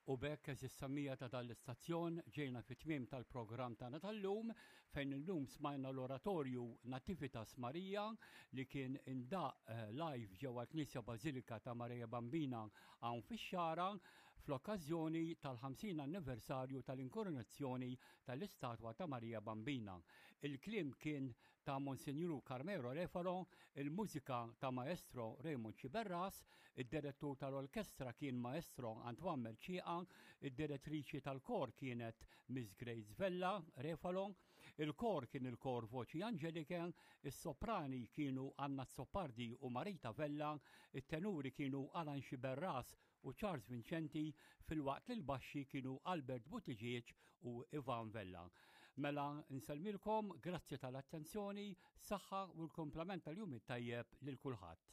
U b'hekk għeżież semmiegħa ta' dan l-istazzjon ġejna fit-tmiem tal-programm tagħna tal-lum fejn illum smajna l-oratorju Nativitas Maria li kien indaq eh, live ġewwa l-Knisja Bażilika ta' Maria Bambina hawn fix-Xagħra fl-okkażjoni tal-50 anniversarju tal-inkoronazzjoni tal-istatwa ta' Maria Bambina. Il-kliem kien ta' Monsinjur Carmelo Refalo, il-mużika ta' Maestro Raymond Sciberras, id-direttur tal-orkestra kien Maestro Antoine Mercieca, id-direttriċi tal-kor kienet Miss Grace Vella Refalo, il-kor kien il-kor Voċi Angelike, is-soprani kienu Anna Azzopardi u Marita Vella, it-tenuri kienu Alan Sciberras u Charles Vincenti filwaqt li l-baxxi kienu Albert Buttigieg u Ivan Vella. Mela nsellmilkom, grazzi tal-attenzjoni, saħħa u l-kumplament tal-jum it-tajjeb lil kulħadd.